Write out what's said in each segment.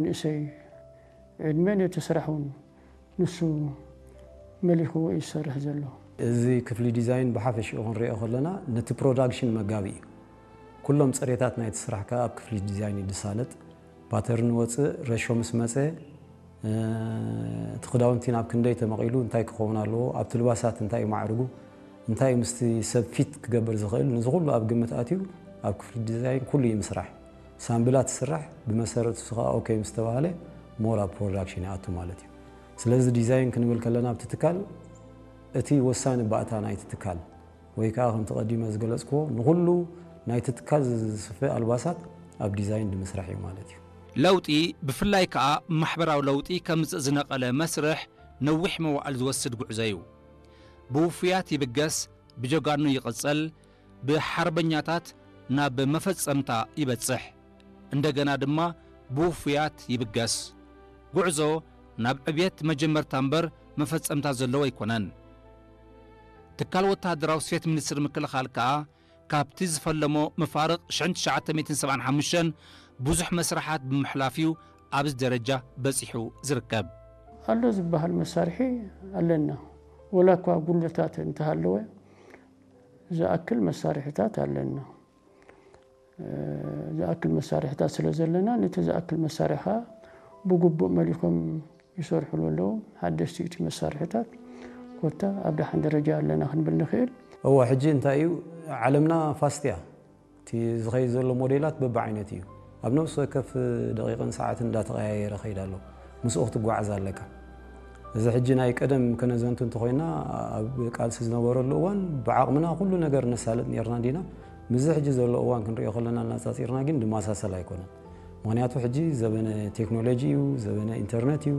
ንእሰይ ዕድመ ነቲ ስራሕ እውን ንሱ መሊኽዎ እዩ ዝሰርሕ ዘሎ። እዚ ክፍሊ ዲዛይን ብሓፈሽኡ ክንሪኦ ከለና ነቲ ፕሮዳክሽን መጋቢ እዩ። ኩሎም ፅሬታት ናይቲ ስራሕ ከዓ ኣብ ክፍሊ ዲዛይን እዩ ዝሳለጥ። ፓተርን ወፅእ ረሾ ምስ መፀ እቲ ክዳውንቲ ናብ ክንደይ ተመቒሉ እንታይ ክኸውን ኣለዎ፣ ኣብቲ ልባሳት እንታይ እዩ ማዕርጉ፣ እንታይ እዩ ምስቲ ሰብ ፊት ክገብር ዝኽእል፣ ንዚ ኩሉ ኣብ ግምት ኣትዩ ኣብ ክፍሊ ዲዛይን ኩሉ እዩ ምስራሕ። ሳምብላት ትስራሕ፣ ብመሰረቱ ንሱ ከዓ ኦኬ ምስ ተባህለ ሞር ኣብ ፕሮዳክሽን ይኣቱ ማለት እዩ። ስለዚ ዲዛይን ክንብል ከለና ኣብቲ ትካል እቲ ወሳኒ ባእታ ናይቲ ትካል ወይ ከዓ ከምቲ ቀዲመ ዝገለፅክዎ ንኹሉ ናይቲ ትካል ዝስፈ ኣልባሳት ኣብ ዲዛይን ንምስራሕ እዩ ማለት እዩ። ለውጢ ብፍላይ ከኣ ማሕበራዊ ለውጢ ከምጽእ ዝነቐለ መስርሕ ነዊሕ መዋእል ዝወስድ ጉዕዞ እዩ። ብውፉያት ይብገስ፣ ብጀጋኑ ይቕጸል፣ ብሓርበኛታት ናብ መፈጸምታ ይበጽሕ። እንደገና ድማ ብውፉያት ይብገስ። ጉዕዞ ናብ ዕብየት መጀመርታ እምበር መፈጸምታ ዘለዎ ኣይኮነን። ትካል ወተሃደራዊ ስፌት ሚኒስትሪ ምክልኻል ከኣ ካብቲ ዝፈለሞ መፋርቕ ሽሕን ትሽዓተ ሚእትን ሰብዓን ሓሙሽተን ብዙሕ መስርሓት ብምሕላፍ እዩ ኣብዚ ደረጃ በጺሑ ዝርከብ። ኣሎ ዝበሃል መሳርሒ ኣለና። ወላ እኳ ጉድለታት እንተሃለወ ዝኣክል መሳርሒታት ኣለና። ዝኣክል መሳርሒታት ስለ ዘለና ነቲ ዝኣክል መሳርሒ ከዓ ብግቡእ መሊኾም ይሰርሕሉ ኣለዉ። ሓደሽቲ እቲ መሳርሒታት ኮታ ኣብ ደሓን ደረጃ ኣለና ክንብል ንኽእል። እወ፣ ሕጂ እንታይ እዩ፣ ዓለምና ፋስት እያ። እቲ ዝኸይድ ዘሎ ሞዴላት በብዓይነት እዩ። ኣብ ነፍሲ ወከፍ ደቂቕን ሰዓትን እንዳተቐያየረ ከይድ ኣሎ። ምስኡ ክትጓዓዝ ኣለካ። እዚ ሕጂ ናይ ቀደም ከነዘንቱ እንተኾይና፣ ኣብ ቃልሲ ዝነበረሉ እዋን ብዓቕምና ኩሉ ነገር ነሳልጥ ነርና እንዲና። ምስዚ ሕጂ ዘሎ እዋን ክንሪኦ ከለና እናጻጺርና ግን ድመሳሰል ኣይኮነን። ምኽንያቱ ሕጂ ዘበነ ቴክኖሎጂ እዩ፣ ዘበነ ኢንተርነት እዩ፣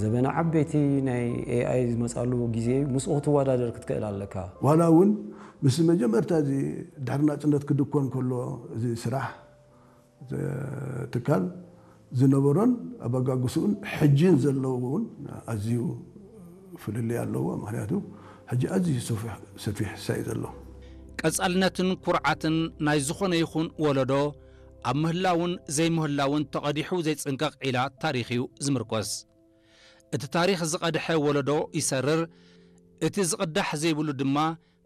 ዘበነ ዓበይቲ ናይ ኤኣይ ዝመጻሉ ግዜ እዩ። ምስኡ ክትወዳደር ክትክእል ኣለካ። ዋላ እውን ምስ መጀመርታ እዚ ድሕሪ ናጽነት ክድኮን ከሎ እዚ ስራሕ ትካል ዝነበሮን ኣበጋግስኡን ሕጂን ዘለውን ኣዝዩ ፍልልይ ኣለዎ። ምኽንያቱ ሕጂ ኣዝዩ ሰፊሕ፣ ሰፊሕ ሳይ ዘሎ። ቀጻልነትን ኩርዓትን ናይ ዝኾነ ይኹን ወለዶ ኣብ ምህላውን ዘይምህላውን ተቐዲሑ ዘይጽንቀቕ ዒላ ታሪኽ እዩ ዝምርኮስ። እቲ ታሪኽ ዝቐድሐ ወለዶ ይሰርር፣ እቲ ዝቕዳሕ ዘይብሉ ድማ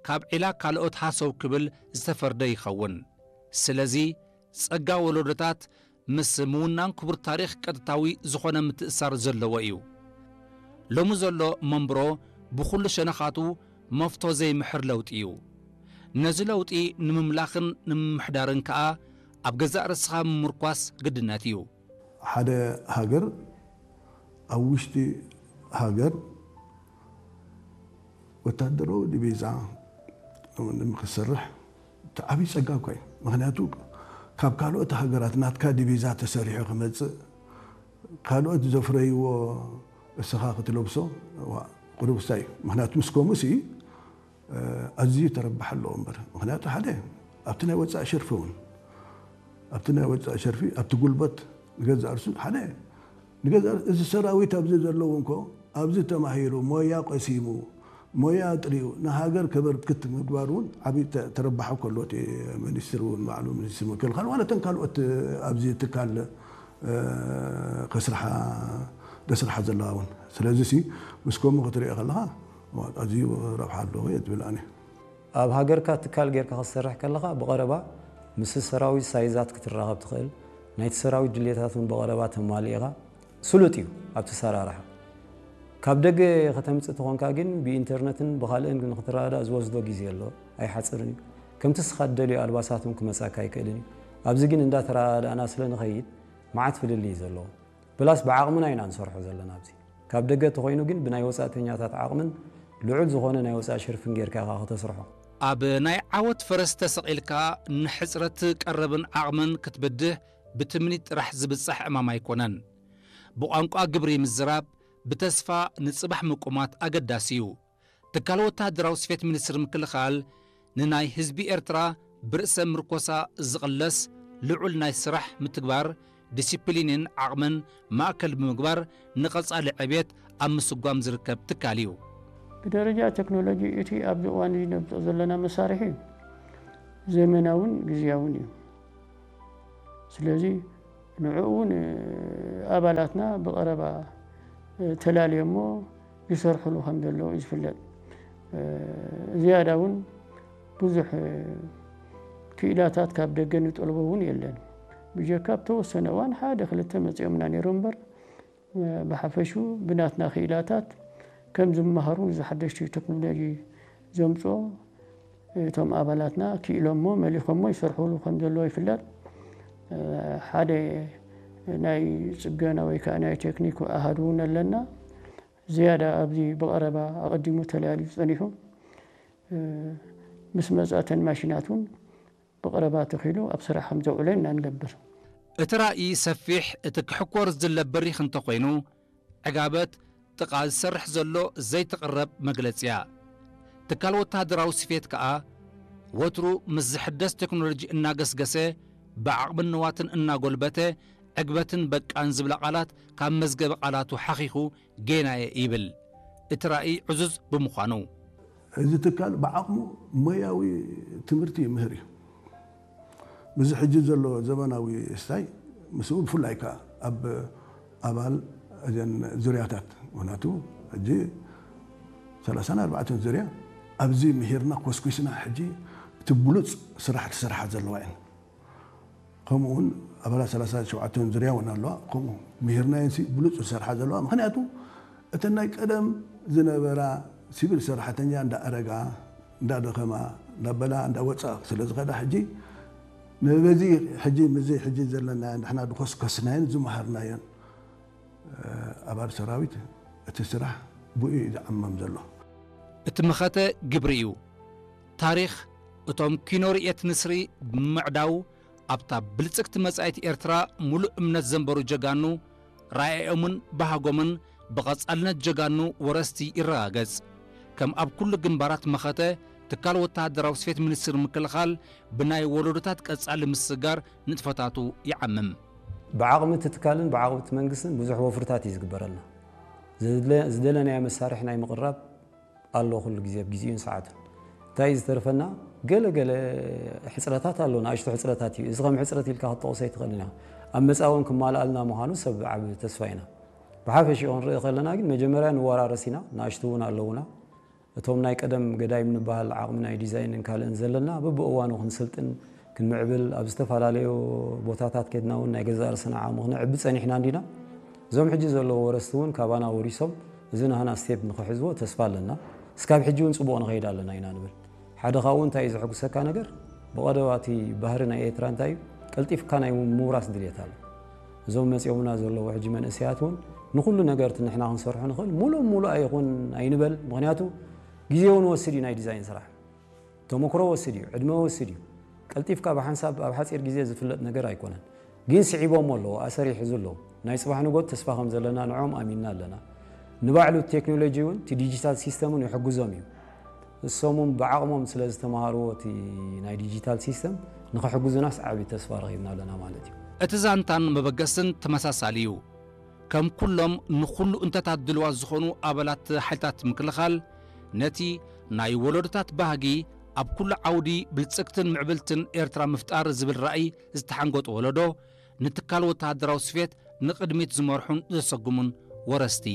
ካብ ዒላ ካልኦት ሃሰው ክብል ዝተፈርደ ይኸውን። ስለዚ ጸጋ ወለዶታት ምስ ምውናን ክቡር ታሪኽ ቀጥታዊ ዝኾነ ምትእሳር ዘለዎ እዩ። ሎሚ ዘሎ መንብሮ ብኹሉ ሸነኻቱ መፍቶ ዘይምሕር ለውጢ እዩ። ነዚ ለውጢ ንምምላኽን ንምምሕዳርን ከኣ ኣብ ገዛእ ርእስኻ ምምርኳስ ግድነት እዩ። ሓደ ሃገር ኣብ ውሽጢ ሃገር ወታደራዊ ዲቪዛ ንክሰርሕ እቲ ዓብዪ ጸጋ እኳ እዩ። ምኽንያቱ ካብ ካልኦት ሃገራት ናትካ ዲቪዛ ተሰሪሑ ክመጽእ ካልኦት ዘፍረይዎ እስኻ ክትለብሶ ዋ፣ ቁሩብ ክሳይ እዩ። ምኽንያቱ ምስ ከምኡ ሲ ኣዝዩ ተረባሕ ኣለዎ እምበር። ምኽንያቱ ሓደ ኣብቲ ናይ ወጻኢ ሸርፊ እውን ኣብቲ ናይ ወጻኢ ሸርፊ ኣብቲ ጉልበት ንገዛእ ርእሱ ሓደ ንገዛእ ርእሱ እዚ ሰራዊት ኣብዚ ዘለዉ እንኮ ኣብዚ ተማሂሩ ሞያ ቀሲሙ ሞያ ኣጥሪዩ ንሃገር ከበርክት ምግባር እውን ዓብዪ ተ-፣ ተረባሒ ከሎ እቲ ሚኒስትር እውን ባዕሉ ሚኒስትር ምክልኻል ዋላ እተን ካልኦት ኣብዚ ትካል እ፣ ከስርሓ ደስርሓ ዘለዋ እውን። ስለዚ ሲ ምስ ከምኡ ክትሪኦ ከለኻ ኣዝዩ ረብሓ ኣለዎ እየ ዝብል ኣነ። ኣብ ሃገርካ ትካል ጌርካ ክትሰርሕ ከለኻ ብቐረባ ምስ ሰራዊት ሳይዛት ክትራኸብ ትኽእል፣ ናይቲ ሰራዊት ድሌታት እውን ብቐረባ ተማሊእኻ ስሉጥ እዩ ኣብቲ ሰራርሓ። ካብ ደገ ከተምጽእ ተኾንካ ግን ብኢንተርነትን ብኻልእን ንክትረዳዳእ ዝወስዶ ግዜ ኣሎ፣ ኣይሓጽርን እዩ። ከምቲ እስኻ ትደልዮ ኣልባሳት እውን ክመጻካ ኣይክእልን እዩ። ኣብዚ ግን እንዳተረዳዳእና ስለ ንኸይድ መዓት ፍልልይ እዩ ዘለዎ። ፕላስ ብዓቕምና ኢና ንሰርሖ ዘለና ኣብዚ። ካብ ደገ ተኾይኑ ግን ብናይ ወጻእተኛታት ዓቕምን ልዑል ዝኾነ ናይ ወጻኢ ሸርፍን ጌርካ ኢኻ ከተስርሖ። ኣብ ናይ ዓወት ፈረስ ተሰቒልካ ንሕጽረት ቀረብን ዓቕምን ክትብድህ ብትምኒት ጥራሕ ዝብጻሕ ዕማም ኣይኮነን። ብቋንቋ ግብሪ ምዝራብ ብተስፋ ንጽባሕ ምቁማት ኣገዳሲ እዩ። ትካል ወተሃደራዊ ስፌት ሚኒስትሪ ምክልኻል ንናይ ህዝቢ ኤርትራ ብርእሰ ምርኮሳ ዝቕለስ ልዑል ናይ ስራሕ ምትግባር ዲሲፕሊንን ዓቕምን ማእከል ብምግባር ንቐጻሊ ዕብየት ኣብ ምስጓም ዝርከብ ትካል እዩ። ብደረጃ ቴክኖሎጂ እቲ ኣብዚ እዋን እዚ ነምጽኦ ዘለና መሳርሒ ዘመናውን ግዝያውን እዩ። ስለዚ ንዕኡ እውን ኣባላትና ብቐረባ ተላልዮሞ ይሰርሕሉ ከም ዘለዉ እዩ ዝፍለጥ። ዝያዳ እውን ብዙሕ ክኢላታት ካብ ደገ ንጠልቦ እውን የለን። ብጀካ ኣብ ተወሰነ እዋን ሓደ ክልተ መፂኦምና ነይሮም እምበር፣ ብሓፈሹ ብናትና ክኢላታት ከም ዝመሃሩ፣ እዚ ሓደሽቲ ቴክኖሎጂ ዘምፅኦ እቶም ኣባላትና ክኢሎሞ መሊኾሞ ይሰርሕሉ ከም ዘለዉ ይፍለጥ። ሓደ ናይ ፅገና ወይ ከዓ ናይ ቴክኒክ ኣሃዱ እውን ኣለና። ዝያዳ ኣብዚ ብቐረባ ኣቐዲሙ ተለያሊዩ ፀኒሑ፣ ምስ መፃተን ማሽናት እውን ብቐረባ ተኺሉ ኣብ ስራሕ ከም ዘውዕለን ኢና ንገብር። እቲ ራእይ ሰፊሕ፣ እቲ ክሕኮር ዝድለ በሪኽ እንተኾይኑ፣ ዕጋበት ጥቓ ዝሰርሕ ዘሎ ዘይትቕረብ መግለጺ እያ። ትካል ወተሃደራዊ ስፌት ከኣ፣ ወትሩ ምስ ዝሕደስ ቴክኖሎጂ እናገስገሰ፣ ብዓቕምን ንዋትን እናጎልበተ፣ ዕግበትን በቃን ዝብላ ቃላት ካብ መዝገበ ቃላቱ ሓኺኹ ጌና'የ ይብል። እቲ ራእይ ዕዙዝ ብምዃኑ። እዚ ትካል ብዓቕሙ ሞያዊ ትምህርቲ ይምህር እዩ። ምስዚ ሕጂ ዘሎ ዘመናዊ ስታይ፣ ምስኡ ብፍላይ ከኣ ኣብ ኣባል እዘን ዙርያታት፣ ምኽንያቱ ሕጂ ሰላሳን ኣርባዕተን ዙርያ ኣብዚ ምሂርና ኮስኩስና፣ ሕጂ እቲ ብሉጽ ስራሕ ትሰርሓ ዘለዋ እየን። ከምኡ እውን ኣባላት ሰላሳን ሸውዓተን ዙርያ እውን ኣለዋ። ከምኡ ምሂርናየን ሲ ብሉጽ ዝሰርሓ ዘለዋ፣ ምኽንያቱ እተን ናይ ቀደም ዝነበራ ሲቪል ሰራሕተኛ እንዳኣረጋ፣ እንዳደኸማ፣ እንዳበላ፣ እንዳወፃ ስለ ዝኸዳ፣ ሕጂ ንበዚ ሕጂ ምስዚ ሕጂ ዘለና ንሕና ድኾስኮስናየን ዝመሃርናየን ኣባል ሰራዊት እቲ ስራሕ ብኡ እዩ ዝዓመም ዘሎ። እቲ መኸተ ግብሪ እዩ። ታሪኽ እቶም ኪኖ ርእየት ንስሪ ብምዕዳው ኣብታ ብልጽግቲ መጻኢት ኤርትራ ሙሉእ እምነት ዘንበሩ ጀጋኑ ራእዮምን ባህጎምን ብቐጻልነት ጀጋኑ ወረስቲ ይረጋገጽ። ከም ኣብ ኩሉ ግንባራት መኸተ ትካል ወተሃደራዊ ስፌት ሚኒስትሪ ምክልኻል ብናይ ወለዶታት ቀጻሊ ምስጋር ንጥፈታቱ ይዓምም። ብዓቕሚ እቲ ትካልን ብዓቕሚ እቲ መንግስትን ብዙሕ ወፍርታት እዩ ዝግበረልና። ዝድለ-፣ ዝደለናዮ መሳርሒ ናይ ምቕራብ ኣሎ ኩሉ ግዜ ኣብ ግዜኡን ሰዓቱን። እንታይ እዩ ዝተርፈና? ገለ ገለ ሕጽረታት ኣሎ፣ ንኣሽቱ ሕጽረታት እዩ። እዚ ከም ሕጽረት ኢልካ ክትጠቕሶ ኣይትኽእልን ኢኻ። ኣብ መጻኢ እውን ክማልኣልና ምዃኑ ሰብ ዓቢ ተስፋ ኢና። ብሓፈሽኡ ክንርኢ ከለና ግን መጀመርያ ንወራረስ ኢና፣ ንኣሽቱ እውን ኣለዉና። እቶም ናይ ቀደም ገዳይም ንበሃል ዓቕሚ ናይ ዲዛይንን ካልእን ዘለና፣ በብእዋኑ ክንስልጥን ክንምዕብል፣ ኣብ ዝተፈላለዩ ቦታታት ከድና እውን ናይ ገዛእ ርእስና ዓቕሚ ክነዕቢ ጸኒሕና እንዲና። እዞም ሕጂ ዘለዉ ወረስቲ እውን ካባና ወሪሶም፣ እዚ ናህና ስቴፕ ንኽሕዝዎ ተስፋ ኣለና። እስካብ ሕጂ እውን ጽቡቕ ንኸይድ ኣለና ኢና ንብል። ሓደ ካብኡ እንታይ እዩ ዘሐጉሰካ ነገር፣ ብቐደዋቲ ባህሪ ናይ ኤርትራ እንታይ እዩ፣ ቀልጢፍካ ናይ ምውራስ ድልየት ኣሎ። እዞም መጺኦምና ዘለዉ ሕጂ መንእሰያት እውን ንኹሉ ነገር እቲ ንሕና ክንሰርሖ ንኽእል፣ ሙሉእ ሙሉእ ኣይኹን ኣይንበል። ምኽንያቱ ግዜ እውን ወስድ እዩ ናይ ዲዛይን ስራሕ። ተመክሮ ወስድ እዩ፣ ዕድመ ወስድ እዩ። ቀልጢፍካ ብሓንሳብ ኣብ ሓጺር ግዜ ዝፍለጥ ነገር ኣይኮነን። ግን ስዒቦሞ ኣለዉ፣ ኣሰር ይሕዙ ኣለዉ። ናይ ጽባሕ ንጎት ተስፋ ከም ዘለና ንዖም ኣሚንና ኣለና። ንባዕሉ ቴክኖሎጂ እውን እቲ ዲጂታል ሲስተም እውን ይሕግዞም እዩ። እሶም እውን ብዓቕሞም ስለ ዝተምሃርዎ እቲ ናይ ዲጂታል ሲስተም ንኽሕግዙናስ ዓቢ ተስፋ ረኺብና ኣለና ማለት እዩ። እቲ ዛንታን መበገስን ተመሳሳሊ እዩ። ከም ኩሎም ንኹሉ እንተታት ድልዋት ዝኾኑ ኣባላት ሓይልታት ምክልኻል፣ ነቲ ናይ ወለዶታት ባህጊ ኣብ ኩሉ ዓውዲ ብልጽግትን ምዕብልትን ኤርትራ ምፍጣር ዝብል ራእይ ዝተሓንገጡ ወለዶ፣ ንትካል ወተሃደራዊ ስፌት ንቕድሚት ዝመርሑን ዘሰጉሙን ወረስቲ።